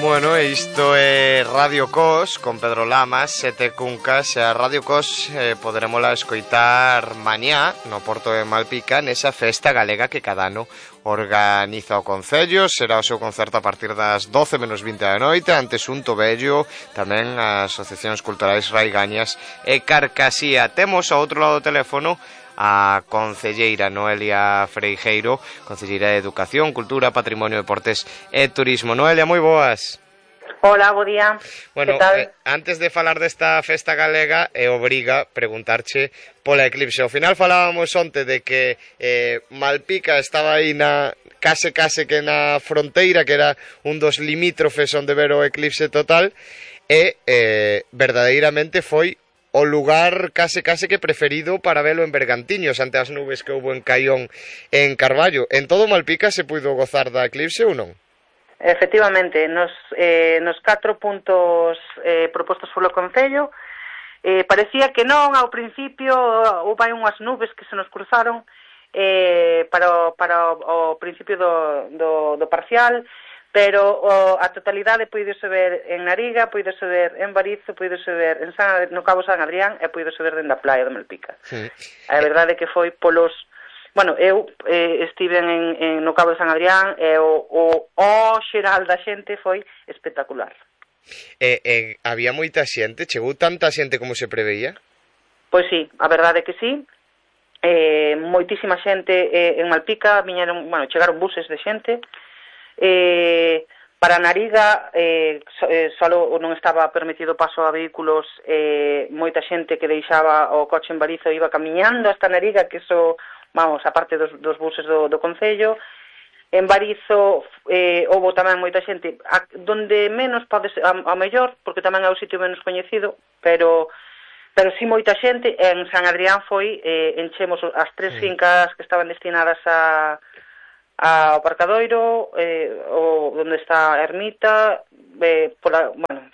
Bueno, isto é Radio Cos con Pedro Lamas, Sete Cuncas. E a Radio Cos poderémola escoitar mañá no Porto de Malpica nesa festa galega que cada ano organiza o Concello. Será o seu concerto a partir das 12 menos 20 da noite ante Xunto Vello, tamén as asociacións culturais Raigañas e Carcasía. Temos ao outro lado do teléfono a concelleira Noelia Freijeiro, concelleira de Educación, Cultura, Patrimonio, Deportes e Turismo. Noelia, moi boas. Hola, bo día. Bueno, que tal? Antes de falar desta festa galega, obriga preguntarche pola eclipse. Ao final falábamos onte de que Malpica estaba aí case que na fronteira, que era un dos limítrofes onde ver o eclipse total, e verdadeiramente foi o lugar case que preferido para velo en Bergantiños ante as nubes que houbo en Caión e en Carballo. En todo Malpica se puido gozar da eclipse ou non? Efectivamente, nos 4 puntos propostos polo Concello parecía que non ao principio. Houve unhas nubes que se nos cruzaron para o principio do parcial, pero a totalidade poidose ver en Nariga, poidose ver en Barizo, poidose ver no Cabo San Adrián e poidose ver dentro da praia de Malpica. Sí. A verdade é que foi polos... Bueno, eu estive no Cabo de San Adrián e o xeral da xente foi espectacular. Había moita xente? Chegou tanta xente como se preveía? Pois sí, a verdade é que sí. Moitísima xente en Malpica, chegaron buses de xente. Para Nariga solo non estaba permitido paso a vehículos, moita xente que deixaba o coche en Barizo iba camiñando hasta Nariga, que iso, a parte dos buses do Concello. En Barizo houve tamén moita xente, donde menos pode ser, ao mellor, porque tamén é o sitio menos coñecido, pero sí moita xente. En San Adrián enchemos as tres fincas que estaban destinadas ao Parcadoiro, onde está a ermita,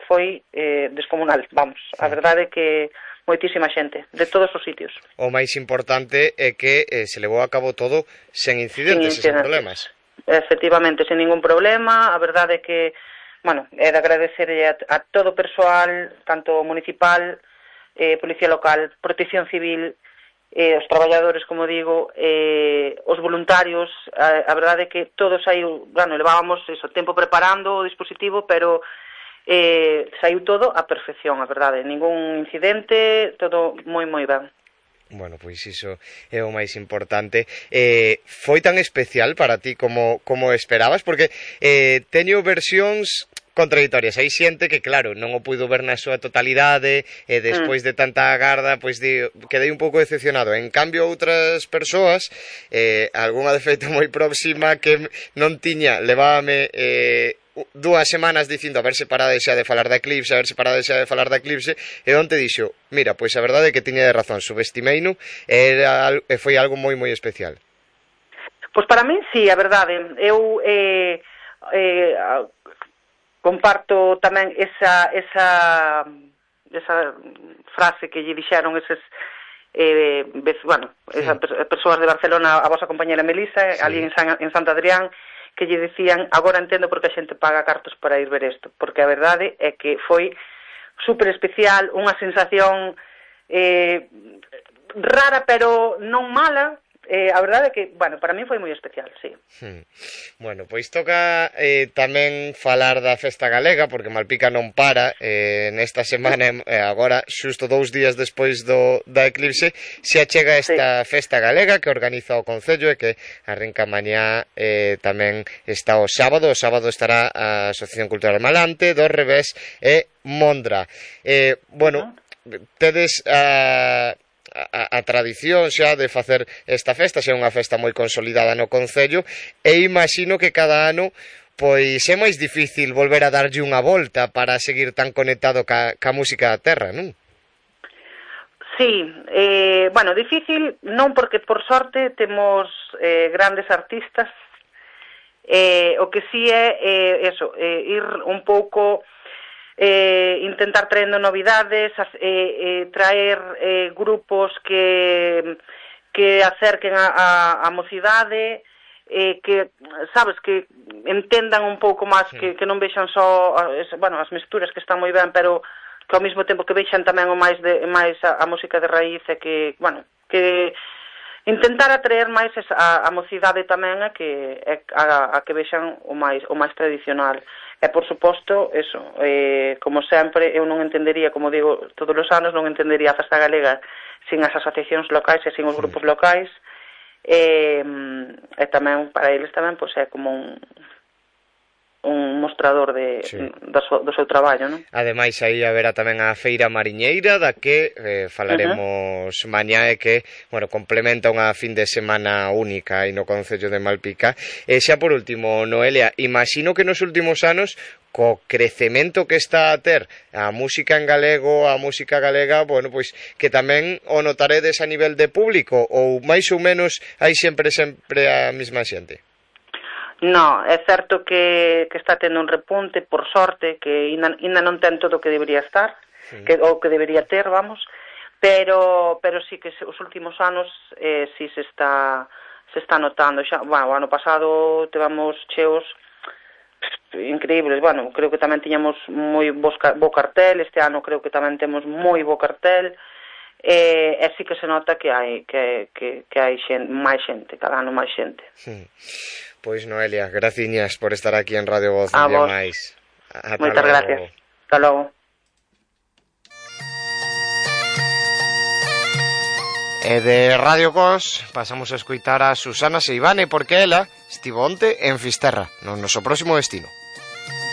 foi descomunal, a verdade é que moitísima xente, de todos os sitios. O máis importante é que se levou a cabo todo sen incidentes, sen problemas. Efectivamente, sen ningún problema. A verdade é que, é de agradecer a todo o persoal, tanto municipal, Policía Local, Protección Civil, os traballadores, como digo, os voluntarios. A verdade é que todos saiu, levábamos tempo preparando o dispositivo, pero saiu todo a perfección, a verdade, ningún incidente, todo moi ben. Bueno, pois iso é o máis importante. Foi tan especial para ti como esperabas? Porque teño versións contradictorias. Hai xente que, claro, non o puido ver na súa totalidade e despois de tanta agarda, pois quedei un pouco decepcionado. En cambio, outras persoas, algunha de feito moi próxima que non tiña, levábame 2 semanas dicindo a ver se parade xa de falar da eclipse, e onte dixo, mira, pois a verdade é que tiña de razón, subestimeino, e foi algo moi especial. Pois para min sí, a verdade. Eu comparto tamén esa frase que lle dixeron esas persoas de Barcelona, a vosa compañera Melisa, ali en Santo Adrián, que lle decían, agora entendo por que a xente paga cartos para ir ver isto, porque a verdade é que foi super especial, unha sensación rara, pero non mala. A verdade é que, para mí foi moi especial, sí. Bueno, pois toca tamén falar da festa galega, porque Malpica non para. Nesta semana, agora, xusto 2 días despois da eclipse, se achega esta festa galega que organiza o Concello e que arrinca mañá. Tamén está o sábado estará a Asociación Cultural Malante, do Revés e Mondra. Bueno, tedes a tradición xa de facer esta festa, xa é unha festa moi consolidada no Concello, e imagino que cada ano pois é máis difícil volver a darlle unha volta para seguir tan conectado ca música da terra, non? Sí, difícil non, porque por sorte temos grandes artistas. O que sí é ir un pouco intentar traendo novidades, traer grupos que acerquen a mocidade, que, sabes, que entendan un pouco máis, que non vexan só, bueno, as misturas que están moi ben, pero que ao mesmo tempo que vexan tamén o máis a música de raíz, e que, bueno, que intentar atraer máis a mocidade tamén a que vexan o máis tradicional. E, por suposto, eso, como sempre, eu non entendería, como digo, todos os anos non entendería a Festa Galega sin as asociacións locais e sin os grupos locais, e tamén, para eles tamén, pois é como un mostrador do seu traballo, non? Ademais, aí haberá tamén a Feira Mariñeira, da que falaremos mañá, e que, bueno, complementa unha fin de semana única aí no Concello de Malpica. E xa por último, Noelia, imagino que nos últimos anos, co crecemento que está a ter a música en galego, a música galega, bueno, pois que tamén o notaredes a nivel de público, ou máis ou menos hai sempre a mesma xente? No, é certo que está tendo un repunte, por sorte, que ainda non ten todo o que debería estar, o que debería ter, vamos, pero sí que os últimos anos sí se está notando. Xa, bueno, o ano pasado tivemos cheos increíbles, bueno, creo que tamén tiñamos moi bo cartel, este ano creo que tamén temos moi bo cartel, e sí que se nota que hai máis xente, cada ano máis xente. Pois, Noelia, graciñas por estar aquí en Radio Voz un día máis. Moitas gracias. Hasta logo. E de Radio Cos pasamos a escoitar a Susana Seivane, porque ela estivo onte en Fisterra, no noso próximo destino.